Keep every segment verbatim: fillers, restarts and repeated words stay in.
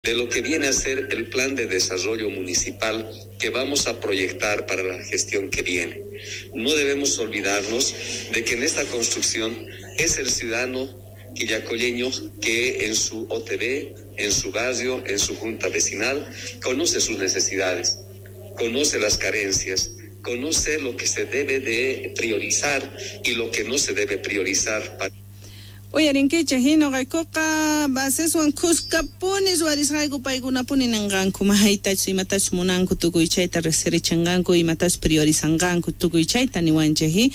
De lo que viene a ser el plan de desarrollo municipal que vamos a proyectar para la gestión que viene. No debemos olvidarnos de que en esta construcción es el ciudadano quillacolleño que en su O T V, en su barrio, en su junta vecinal, conoce sus necesidades, conoce las carencias, conoce lo que se debe de priorizar y lo que no se debe priorizar. Uyarinkichej noqaykuqa baseswan khuskapuni ruwarisqayku paykunapuni ninqanku maytachus imatachus munanku tukuy chayta riqsirichinqanku imatachus priorizanqanku tukuy chayta niwanchej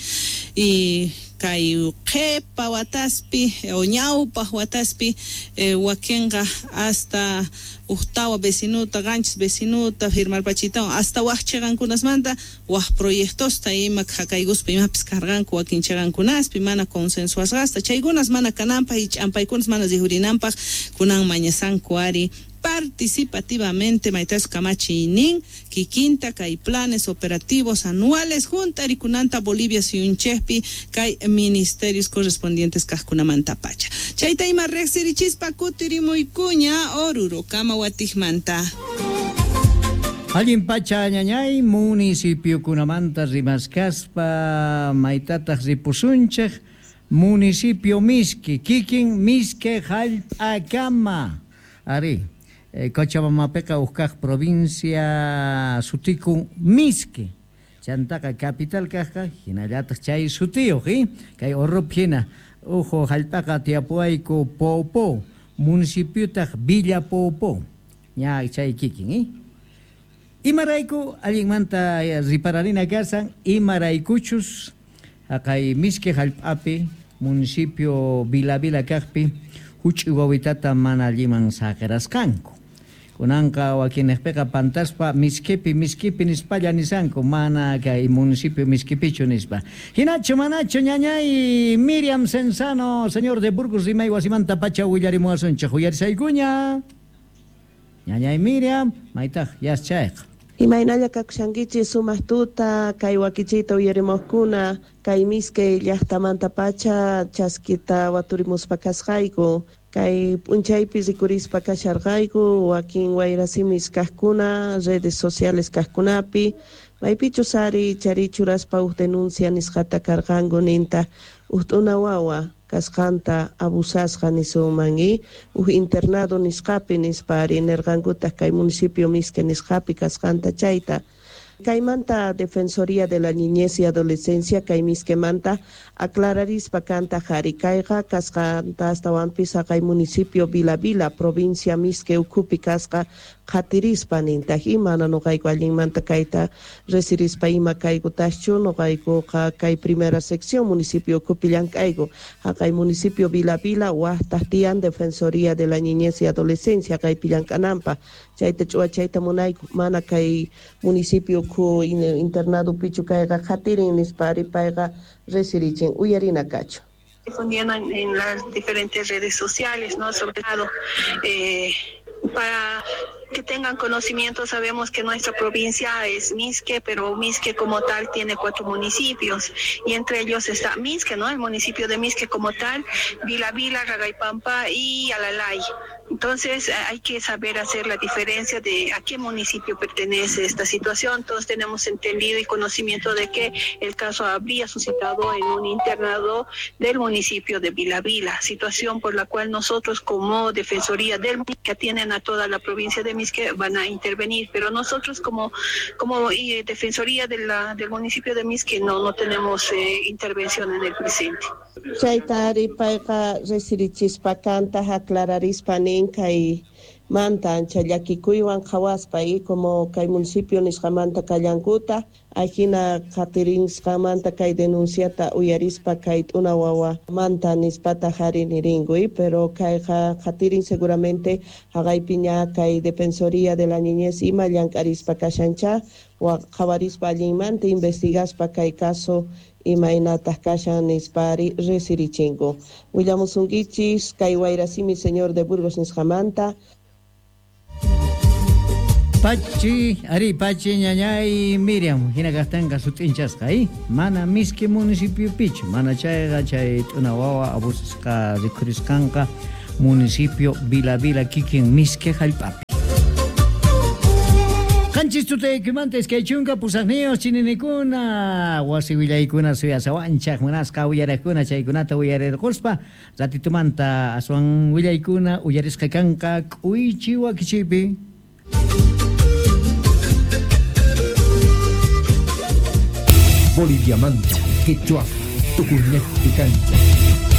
y kay qhipa wataspi o ñawpaq wataspi eh, wakinqa hasta ujtawa vecinuta qanchis vecinuta firmarpachitawan hasta waj chiqankunasmanta waj proyectosta ima qhakaykuspa imapis karqanku wakin chiqankunaspi mana consensuasqasta chaykunas mana kananpaq y ch'ampaykunas mana rijurinanpaq kunan mañasanku ari participativamente maytas kamachiynin kikinta kay planes operativos anuales junta rikunanta Bolivia suyunchejpi kay ministerios correspondientes kajkunamanta pacha chayta ima riqsirichispa kutirimuykuña Oruro kama watijmanta. Allin pacha ñañay municipiokunamanta rimaskaspa maytataq ripusunchej municipio Misque kikin Misque jallp'akama ari eh, Cochabambapiqa uj provincia sutikun Misque chantaqa capital kajqa hinallataq chay sutiyuq eh? Kay Orrup hina uju jallp'aqa tiyapuwayku Poopó municipiotaq Villa Poopó ña chay kikin eh? Imarayku allinmanta ripararina kasan imaraykuchus haqay Misque jallp'api municipio Vila Vila kajpi huch'uy wawitata mana alliman saqirasqanku kunanqa wakinejpiqa pantaspa Misquepi Misquepi nispalla nisanku mana kay municipio Misquepichu nispa hinachu manachu ñañay Miriam Cenzano señor de Burgos rimay wasimanta pacha willarimuwasunchej uyarisaykuña ñañay Miriam maytaq yaschayqa. Imaynalla kakushankichis sumaq tuta kay wakichiyta uyarimuqkuna kay Misque llaqtamanta pacha chaskita waturimuspa kasqayku kay p'unchaypi rikurispa kasharqayku wakin wayrasimis kaqkuna redes sociales kaqkunapi maypichus ari charichuraspa uj denuncia nisqata karqanku ninta uj t'una wawa kasqanta abusasqa nisunman y uj internado nisqapi nispa ari nirqankutaq kay municipio Misque nisqapi kasqanta chayta. Kaymanta Defensoría de la Niñez y Adolescencia kay Misquemanta aclararispa kanta jari kayqa kasqanta astawanpis haqay municipio Vila Vila provincia Misque ukhupi kasqa qhatirispa nintaq imana nuqayku allinmanta kayta resirispa ima kaykutaschu nuqaykuqa kay primera sección municipio ukhupi llank'ayku haqay municipio Vila Vila waqtaq tiyan Defensoría de la Niñez y Adolescencia kaypi llank'ananpaq chayta ch'uwachayta munayku mana kay municipio ukhu internado pichu kayqa qhatirin nispa ari payqa resirichin uyarina kachu. Difundiendo en, en las diferentes redes sociales, ¿no? Sobre todo eh, para que tengan conocimiento, sabemos que nuestra provincia es Misque, pero Misque como tal tiene cuatro municipios y entre ellos está Misque, ¿no? El municipio de Misque como tal, Vila Vila, Ragaipampa y Alalay. Entonces hay que saber hacer la diferencia de a qué municipio pertenece esta situación. Todos tenemos entendido y conocimiento de que el caso habría suscitado en un internado del municipio de Vila Vila, situación por la cual nosotros como Defensoría del que atienden a toda la provincia de Misque van a intervenir, pero nosotros como, como eh, Defensoría de la, del municipio de Misque no, no tenemos eh, intervención en el presente. Chayta ari payqa resirichispa kanta aclararispa nin kay manta ancha llakikuywan qhawaspa y como kay municipio nisqamanta kallankuta ajina qhatirisqamanta kay denunciata uyarispa kay t'una wawa manta nispata jari niringu y pero kayqa qhatirin seguramente haqaypi ña kay Defensoría de la Niñez ima llank'arispa kashancha wa qhawarispa allinmanta investigaspa kay caso imaynataq kashan nispa ari resirichinku. Willamusunkichis kay wayrasimi señor de Burgos nisqamanta. Pachi, ari pachi ñañay Miriam, hina kaqtanqa sut'inchasqa, eh? Mana Misque municipio pichu, mana chayqa chay t'una wawa abusasqa rikhurisqanqa Municipio Vila Vila kikin Mizque jallp'api. Qanchis tutaykimanta iskay chunka pusaqniyuq chininikuna wasi willaykuna suyasawanchaq munasqa uyariqkuna chaykunata uyarirquspa ratitumanta aswan willaykuna uyarisqa kanqa k'uychi wakichiypi. Boliviamanta, Quechua, Tukuñeqpi kancha.